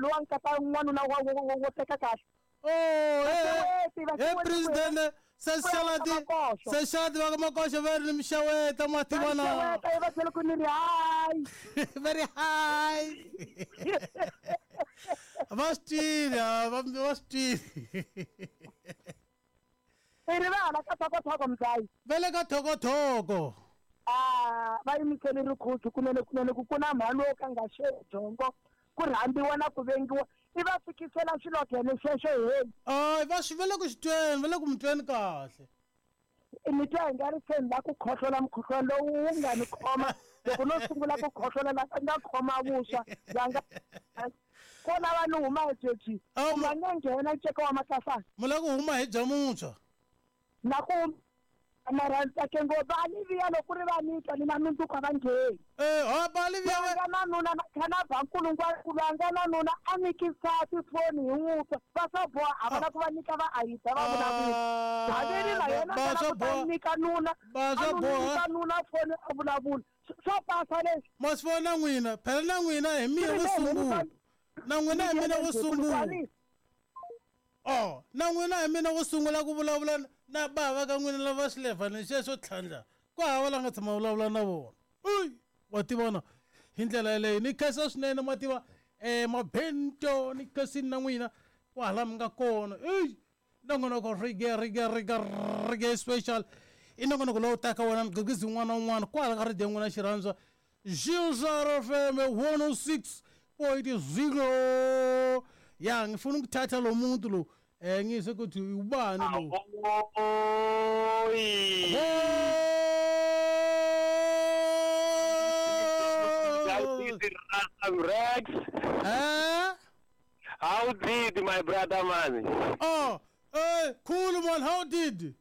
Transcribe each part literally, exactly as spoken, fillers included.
Lowa nkata n'wanuna wa wo teka kahle. Oh, eh president seshalati seshalati va ka Makoxa va ri ni mixaweta mativana. Mixaweta va tlhela ku ni ri high. Very high. Va swi twile, va va swi twile. I ri va hala ka thokothoko mdzayi. Va le ka thokothoko. Ah, va yimisele rikhuzu kunene kunene ku ku na mhani wo ka nga xejongo ku rhambiwa na ku vengiwa i va fikisela xilogene xexo heli. Ay, va swi va le ku xi tweni, va le ku mi tweni kahle. Ni twa hi nga ri se ni la ku khohlola mukhuhlwana lowu wu nga ni khoma loko no sungula ku khohlola la nga khoma vuswa va nga ko lava ni huma hi byebyi u nga nge nghena nceka wa matlafana. Mu la ku huma hi bya muntshwa na ku mara ntsake ngopfu a ni vuya loko ku ri va ni twa ni na mindzuku a va ngheni. Eh, ha ba li vuya va nga na nuna na khana ba nkulungwana a nga na nuna a nyiki nsati foni hi n'wi twa va swa boha a va la ku va nyika va ayita va vulavula haveri na yena a la ku ta nyika nuna a nyika nuna foni a vulavula swa pasa leswi. Ma swi vona n'wina phela na n'wina hi mina wo sungula na n'wina hi mina wo sungula. Oh, na n'wina hi mina wo sungula ku vulavula na bava ka n'wina lava xilevhani xexo tlhandla ku hava la nga tshama vulavula na vona. Uy, wa tivona hi ndlela yeleyo ni khensa swinene ma tiva eh mabento ni khensini na n'wina kwahala mi nga kona. Ey, nongonoko rige rige rige rige special i nongonoko lowu taka wona mugqigqizi wun'wana na wun'wana kwala ka radio n'wina xirhandza Gilzar F M one oh six point zero. Ya ngifuna ukuthatha lo muntu lo eh ngizwe ukuthi ubani lo. Oy. Rex. Eh? How did my brother man? Oh, eh cool man, how did?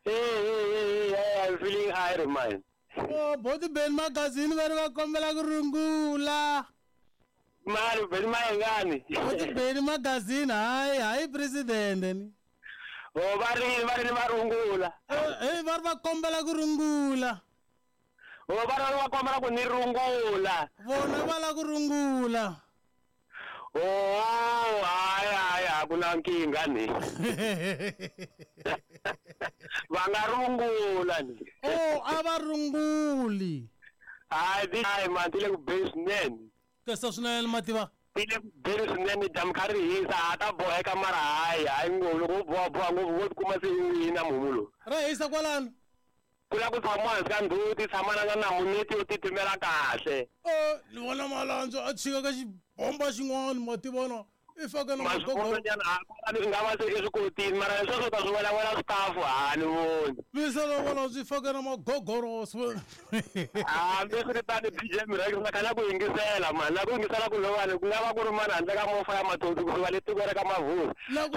Hey, hey, hey, hey, I'm feeling high man. Oh, body Ben magazine va ri va kombela ku rungula. Mali Ben mayengani. Body Ben magazine hayi hayi president ni. Oh, va ri va ri va rungula. Eh, eh va ri va kombela ku rungula. Oh, va ri va kombela ku ni rungula. Vona va la ku rungula. Oh, hayi hayi a ku na nkingha ni. Va nga rungula ni. Oh, a va runguli. Hayi, ti hayi man, ti le ku beni swinene. Kesa swinene mativa. Ti le ku beni swinene dyambu kha ri hisa a ta boheka mara hayi hayi ngopfu loko u boha boha ngopfu wo tikuma se i wina mumu lowu. Ra hisa kwalano. Ku la ku tshamiwa hansi ka ndzhuti tshama na namuneti yo titimela kahle. Eh, ni vona Malandzo a chika ka xibomba xin'wana ma tivona i faka na magogo nyana a ni nga va se i swi kotini mara leswi swo ta swi wela wela staff ha ni voni. Misa lo vona swi faka na magogoro swi. Ah, mi swi tani D J Miracle na kana ku yingisela man na ku yingisela ku lowani ku nga va ku ri mani handle ka mofa ya matoti ku suka le tikweni ka Mavhuru. Mara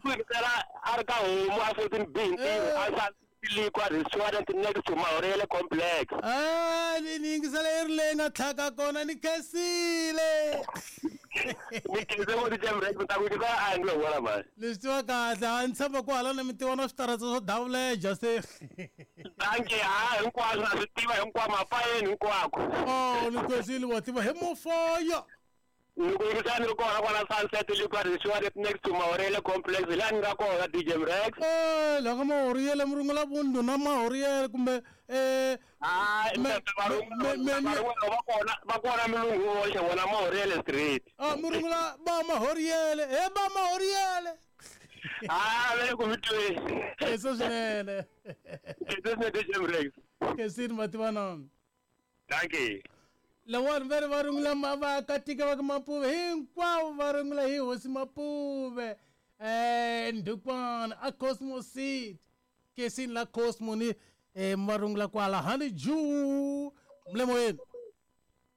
ku yingisela a ri ka homu a fourteen B ntirho a sa Liquor restaurant next to Maurele complex. Ah, ni ni yingisela i ri leyi nga tlhaka kona ni khensile. Ni khense ngo D J Miracle ta ku yingisela a ni lo vona man. Leswi tiva kahle a ni tshemba ku hala na mi tiva na switarata swo davuleja se. Thank you, ha hinkwaswo na swi tiva hinkwako mapayeni hinkwako. Oh, ni khensile wa tiva hi mofaya. Ni ku yingisela ni ri kona kwala Sunset Liquor Restaurant next to Maurele complex laha ni nga kona D J Mrex. Eh, la ka Maurele mi rungula vundu na Maurele kumbe eh hayi va kona va kona milungu voxe vona Maurele street. Ah, mi rungula ba Maurele, he ba Maurele. Ah, va le ku mi tweni. Eso swinene. Eso swinene D J Mrex. Khensini mativana. Thank you. Lawani va ri va rungula vaakatiko va ka Mapuve hinkwavo va rungula hi hosi Mapuve eh ndukwana a Cosmo City kesini la Cosmo ni eh va rungula kwala Honeydew mlemoyeni.